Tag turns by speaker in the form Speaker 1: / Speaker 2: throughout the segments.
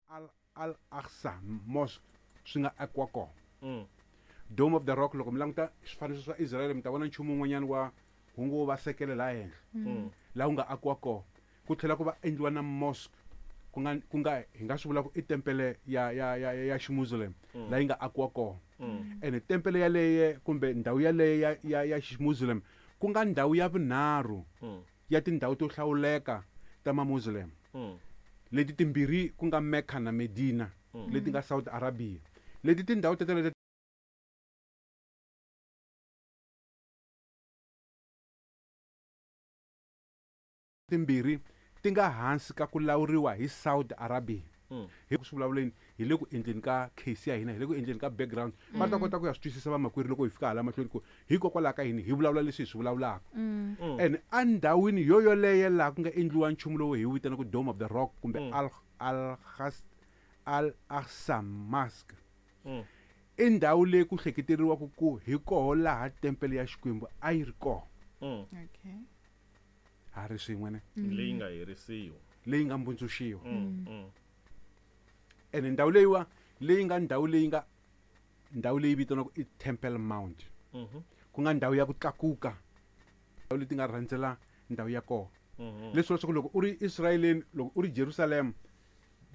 Speaker 1: Al Aqsa Mosque swi nga akiwa kona. Dome of the Rock loko mi languta swifaniso swa Israel mi ta vona nchumu wun'wanyana wa hungu wo va sekele laha henhla laha wu nga akiwa kona. Ku tlhela ku va endliwa na mosque ku nga ku nga hi nga swi vula ku i tempele ya ya ya ya Ximuslim laha yi nga akiwa kona. Ene tempele yaleye kumbe ndhawu yaleye ya ya ya Ximuslim ku nga ndhawu ya vunharhu ya tindhawu to hlawuleka ta Mamuslim. Leti timbirhi ku nga Mecca na Medina leti nga Saudi Arabia. Leti tindhawu tetelete timbirhi ti nga hansi ka ku lawuriwa hi Saudi Arabia. Hi ku swi vulavuleni hi le ku endleni ka case ya hina, hi le ku endleni ka background. Va ta kota ku ya swi twisisa vamakwerhu loko hi fika hala mahlweni ku hikokwalaho ka yini hi vulavula leswi hi swi vulavulaka. And endhawini yo yoleyo laha ku nga endliwa nchumu lowu hi wu vitanaka Dome of the Rock kumbe Al Al Al Aqsa Mosque. I ndhawu leyi ku hleketeriwaka ku hi koho laha tempele ya Xikwembu a yi ri kona.
Speaker 2: Okay.
Speaker 1: Ha ri swin'we ne?
Speaker 3: Leyi nga herisiwa.
Speaker 1: Leyi nga mbundzuxiwa. Ene ndhawu leyiwa leyi nga ndhawu leyi nga ndhawu leyi vitaniwaka i Temple Mount. Ku nga ndhawu ya ku tlakuka. Ndhawu leti nga rhandzela ndhawu ya kona. Leswi leswaku loko u ri Israeleni, loko u ri Jerusalem,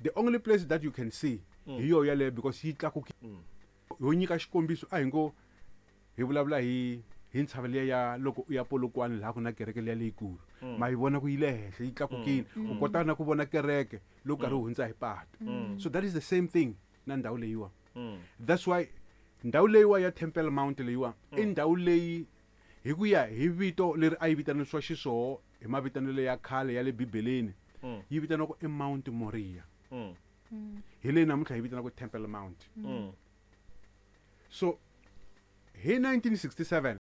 Speaker 1: the only place that you can see hi yoho yaleyo because yi tlakukile. Ho nyika xikombiso a hi ngo hi vulavula hi hi ntshava liya ya loko u ya Polokwane laha ku na kereke liya leyikulu. Ma yi vona ku yi le henhla yi tlakukile. U kota na ku vona kereke loko karhi u hundza hi patu. So that is the same thing na ndhawu leyiwa. That's why ndhawu leyiwa ya Temple Mount leyiwa i ndhawu leyi hi ku ya hi vito leri a yi vitanisiwa xiswoho hi mavitanelo ya khale ya le Bibeleni yi vitaniwa ku i Mount Moriah. Hi leyi namuntlha hi vitanaka Temple Mount. So hi 1967